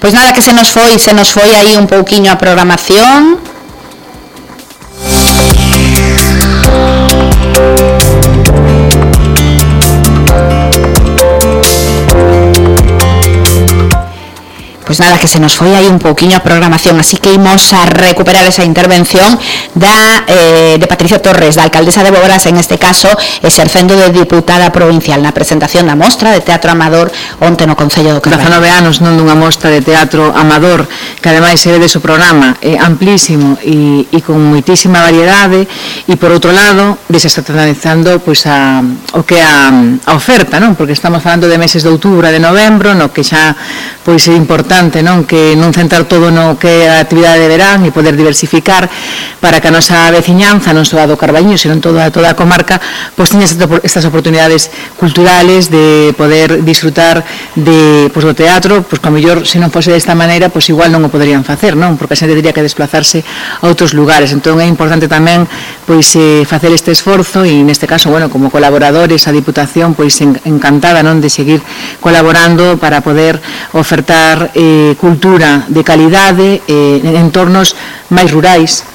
Pois nada, que se nos foi aí un pouquiño a programación. Pois nada, que se nos foi aí un pouquiño a programación, así que imos a recuperar esa intervención de Patricia Torres, da alcaldesa de Boborás, en este caso, exercendo de diputada provincial na presentación da mostra de teatro amador onte no Concello do Carballo. 19 anos non dunha mostra de teatro amador, que ademais se ve de su programa amplísimo e con moitísima variedade, e por outro lado, desestacionalizando pois o que é a oferta, non? Porque estamos falando de meses de outubro e de novembro, no que xa pois é importante, non, que non centrar todo no que é a actividade de verán e poder diversificar para que a nosa veciñanza, non só a do Carballiño, senón toda a comarca, pois teña estas oportunidades culturales de poder disfrutar do teatro, pois como mellor, se non fose desta maneira, pois igual non o poderían facer, non? Porque a xente teria que desplazarse a outros lugares. Entón é importante tamén pois facer este esforzo e neste caso, bueno, como colaboradores a Diputación, pois encantada, non, de seguir colaborando para poder ofertar cultura de calidade en entornos máis rurais,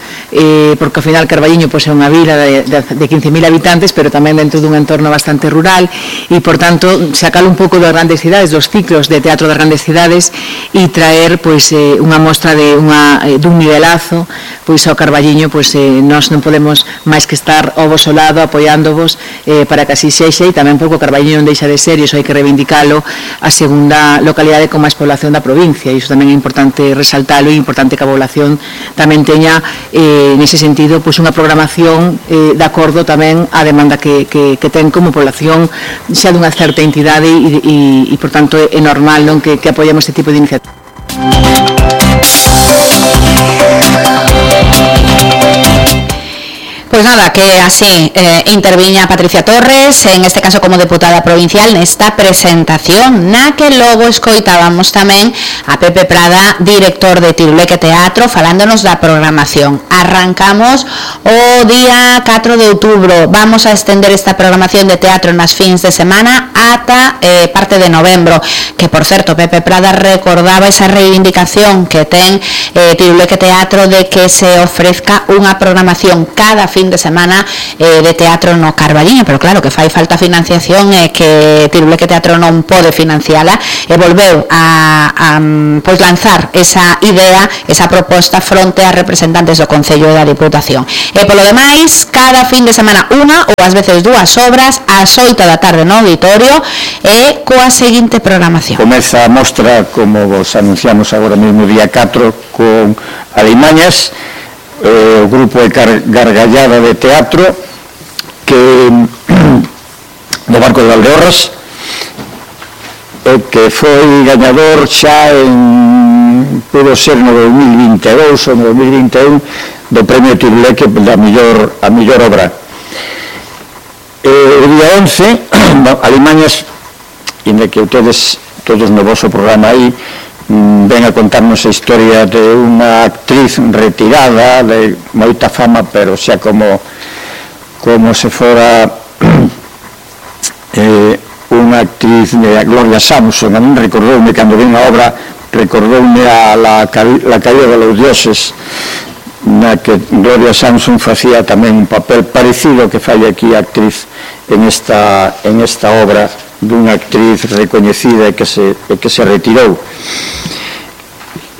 porque ao final Carballiño pois é unha vila de 15.000 habitantes, pero tamén dentro dun entorno bastante rural e, por tanto, sacar un pouco das grandes cidades, dos ciclos de teatro das grandes cidades e traer pois unha mostra dun nivelazo pois ao Carballiño. Pois nós non podemos máis que estar ao vosso lado apoiándovos para que así sexa, e tamén porque o Carballiño non deixa de ser, e iso hai que reivindicalo, a segunda localidade con máis población da provincia, e iso tamén é importante resaltalo, e é importante que a población tamén teña nese sentido pois unha programación de acordo tamén á demanda que ten como población xa dunha certa entidade, e por tanto é normal, non, que apoiamos este tipo de iniciativas. Pois nada, que así interviña Patricia Torres, en este caso como deputada provincial, nesta presentación, na que logo escoitábamos tamén a Pepe Prada, director de Tiruleque Teatro, falándonos da programación. Arrancamos o día 4 de outubro, vamos a estender esta programación de teatro nas fins de semana ata parte de novembro, que por certo Pepe Prada recordaba esa reivindicación que ten Tiruleque Teatro de que se ofrezca unha programación cada fin de semana de teatro no Carballiño, pero claro que fai falta financiación e que Tiruleque Teatro non pode financiala, e volveu a pois lanzar esa idea, esa proposta fronte a representantes do Concello e da Diputación. E polo demais, cada fin de semana unha ou ás veces dúas obras ás 8 da tarde no auditorio e coa seguinte programación. Comeza a mostra, como vos anunciamos agora mesmo, día 4, con Alimañas, o grupo de Gargallada de Teatro, que do Barco de Valdeorras, que foi gañador xa pudo ser no 2022 ou no 2021 do premio Tiruleque a mellor obra. O día 11, Alimañas, inda que ustedes todos no vosso programa aí ven a contarnos a historia de unha actriz retirada de moita fama, pero xa como se fora unha actriz de Gloria Samson. A mí recordoume, cando vi a obra, recordoume a la caída de los dioses, na que Gloria Samson facía tamén un papel parecido que fai aquí a actriz en esta obra, dunha actriz recoñecida e que se retirou.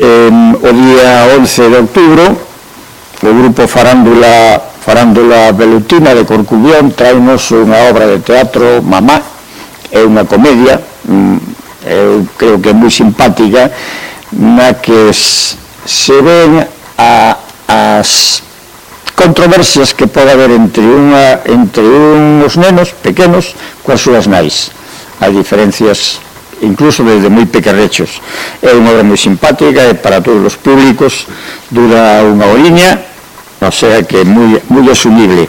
O día 11 de outubro, o grupo Farándula Velutina de Corcubión traenos unha obra de teatro, Mamá. É unha comedia, eu creo que é moi simpática, na que se ven as controversias que pode haber entre uns nenos pequenos coas súas nais. As diferencias, incluso desde moi pequerrechos. É unha obra moi simpática, é para todos os públicos, dura unha horiña, o sea que é moi asumible.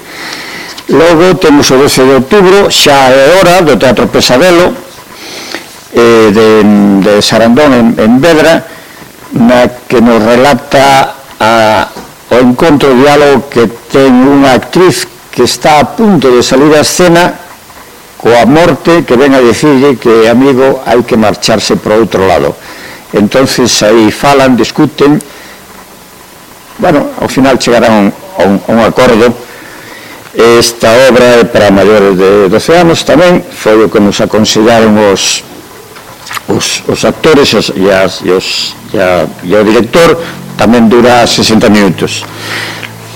Logo temos o 12 de outubro, xa é hora, do Teatro Pesadelo, de Sarandón en Vedra, na que nos relata o encontro diálogo que ten unha actriz que está a punto de salir á escena coa morte, que ven a dicirlle que, amigo, hai que marcharse por outro lado. entonces aí falan, discuten, bueno, ao final chegarán a un acordo. Esta obra é para maiores de 12 anos tamén, foi o que nos aconsellaron os actores e o director, tamén dura 60 minutos.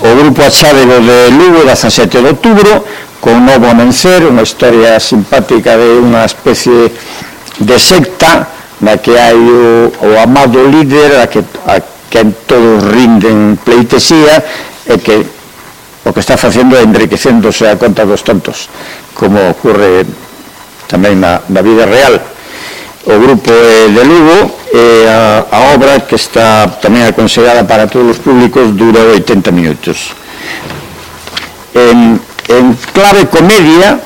O grupo Achádego de Lugo, 17 de outubro, con Novo Amencer, unha historia simpática de unha especie de secta na que hai o amado líder a quen todos rinden pleitesía e que o que está facendo é enriquecéndose a conta dos tontos, como ocurre tamén na vida real. O grupo de Lugo, a obra que está tamén aconsellada para todos os públicos, dura 80 minutos. En clave comedia,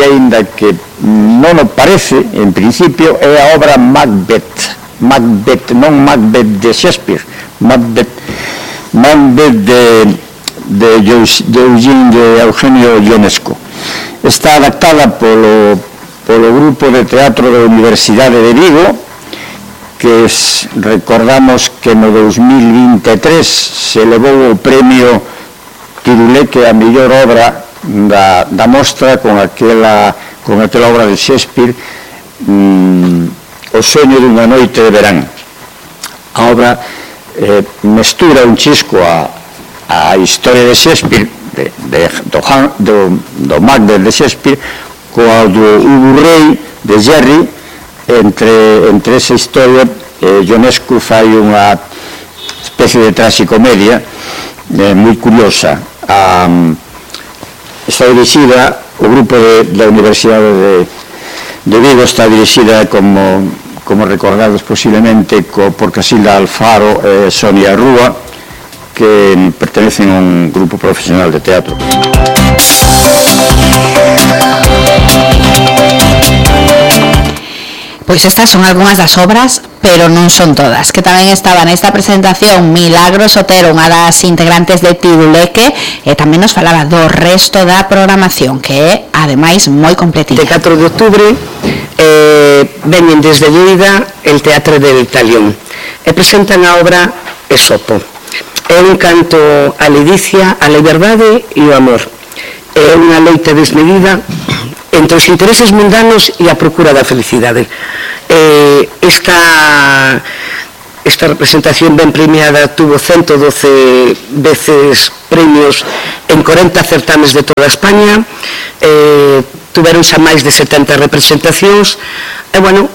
ainda que non o parece, en principio, é a obra Macbeth, non Macbeth de Shakespeare, Macbeth de Eugenio Ionesco. Está adaptada polo grupo de teatro da Universidade de Vigo, que recordamos que no 2023 se levou o premio Tiruleque a mellor obra da mostra con aquela obra de Shakespeare, O soño dunha noite de verán. A obra mestura un chisco a historia de Shakespeare, do Macbeth de Shakespeare, coa do Hugo Rey de Jerry. Entre esa historia, Ionesco fai unha especie de traxicomedia moi curiosa. Está dirixida, o grupo da Universidade de Vigo está dirixida, como recordados posiblemente, por Casilda Alfaro e Sonia Rúa, que pertenecen a un grupo profesional de teatro. Pois estas son algunhas das obras, pero non son todas, que tamén estaban nesta presentación Milagros Otero, unha das integrantes de Tiruleque, e tamén nos falaba do resto da programación, que é, ademais, moi completita. De 4 de outubro veñen desde Lleida el Teatro del Talión e presentan a obra Esopo. É un canto á ledicia, á liberdade e ao amor. É unha loita desmedida entre os intereses mundanos e a procura da felicidade. Esta representación ben premiada tuvo 112 veces premios en 40 certames de toda España, tuveron xa máis de 70 representacións, e, bueno,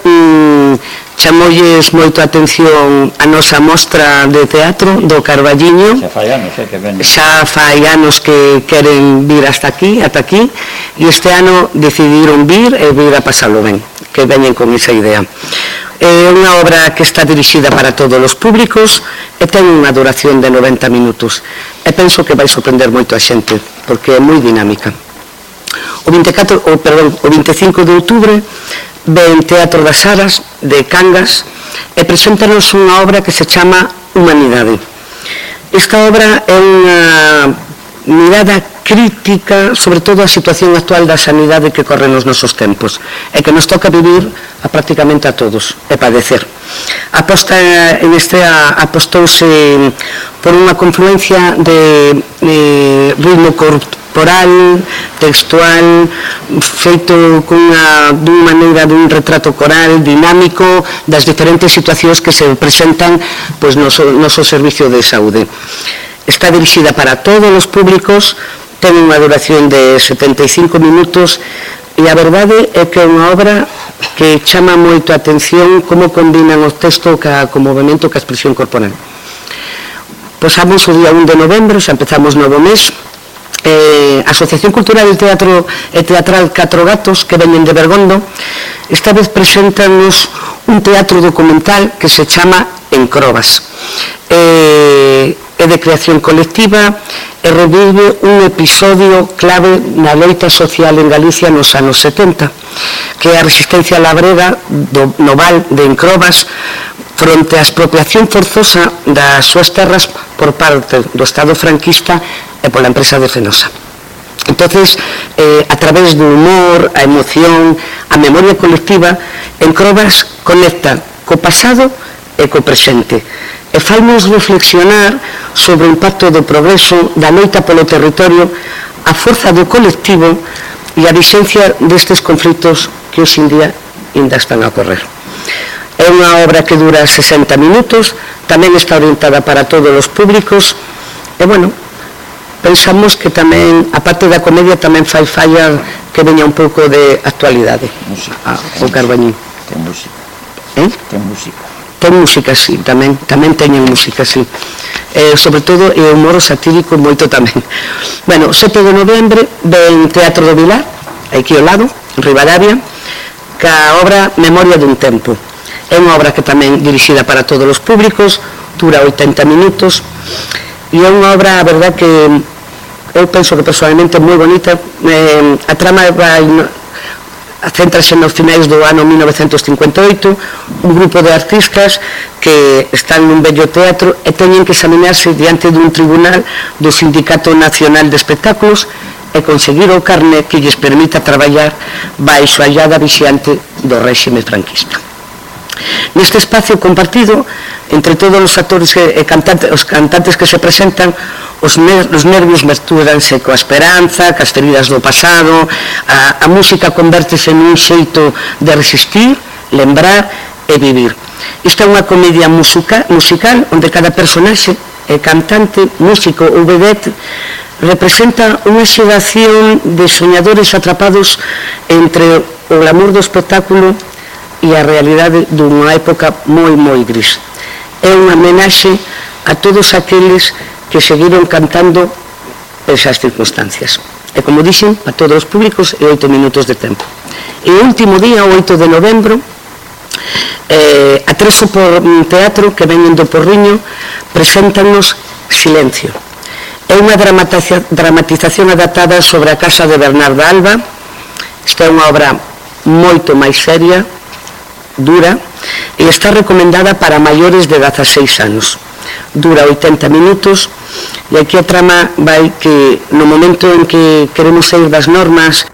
chamolles moito a atención a nosa mostra de teatro do Carballiño. Xa fai anos que queren vir ata aquí, e este ano decidiron vir e vir a pasalo ben, que veñen con esa idea. É unha obra que está dirixida para todos os públicos e ten unha duración de 90 minutos. E penso que vai sorprender moito a xente, porque é moi dinámica. O 25 de outubro ven Teatro das Aras de Cangas e preséntanos unha obra que se chama Humanidade. Esta obra é unha mirada crítica sobre todo a situación actual da sanidade que corre nos nosos tempos e que nos toca vivir a prácticamente a todos e padecer. Apostouse por unha confluencia de ritmo corporal, textual, feito dunha maneira dun retrato coral dinámico das diferentes situacións que se presentan no noso servicio de saúde. Está dirixida para todos os públicos, ten unha duración de 75 minutos e a verdade é que é unha obra que chama moito a atención como combinan o texto co movimento, ca expresión corporal. Posamos o día 1 de novembro, xa empezamos novo mes. A Asociación Cultural del Teatro e Teatral Catro Gatos, que veñen de Bergondo, esta vez preséntanos un teatro documental que se chama Encrobas. É de creación colectiva e revive un episodio clave na loita social en Galicia nos anos 70, que é a resistencia labrega no val de Encrobas fronte á expropiación forzosa das súas terras por parte do Estado franquista e pola empresa de Fenosa. Entonces, a través do humor, a emoción, a memoria colectiva, Encrobas conecta co pasado e co presente, e fainos reflexionar sobre o impacto do progreso, da loita polo territorio, a forza do colectivo e a vixencia destes conflitos que hoxe en día ainda están a ocorrer. É unha obra que dura 60 minutos, tamén está orientada para todos os públicos, e, bueno, pensamos que tamén, a parte da comedia, tamén fai falla que veña un pouco de actualidade. O Carbañín. Ten música. Ten música. Ten música, sí, tamén teñen música, sí. Sobre todo, e o humor satírico moito tamén. Bueno, 7 de novembro, ven Teatro do Vilar, aquí ao lado, en Ribadavia, ca obra Memoria dun tempo. É unha obra que tamén dirixida para todos os públicos, dura 80 minutos, e é unha obra, a verdad, que eu penso que personalmente é moi bonita. A trama vai céntrase nos finais do ano 1958, un grupo de artistas que están nun bello teatro e teñen que examinarse diante dun tribunal do Sindicato Nacional de Espectáculos e conseguir o carné que lles permita traballar baixo a illada vixiante do réxime franquista. Neste espacio compartido entre todos os actores e os cantantes que se presentan, os nervios mestúranse coa esperanza, cas feridas do pasado, a música convértese nun xeito de resistir, lembrar e vivir. Isto é unha comedia musical onde cada personaxe, cantante, músico ou vedette, representa unha xeración de soñadores atrapados entre o glamour do espectáculo e a realidade dunha época moi, moi gris. É unha homenaxe a todos aqueles que seguiron cantando esas circunstancias. E como dixen, a todos os públicos e 8 minutos de tempo. E o último día, o 8 de novembro, a Treso por Teatro, que veñen do Porriño, preséntanos Silencio. É unha dramatización adaptada sobre a casa de Bernarda Alba. Esta é unha obra moito máis seria, dura, e está recomendada para maiores de 16 anos. Dura 80 minutos, e aquí a trama vai que no momento en que queremos sair das normas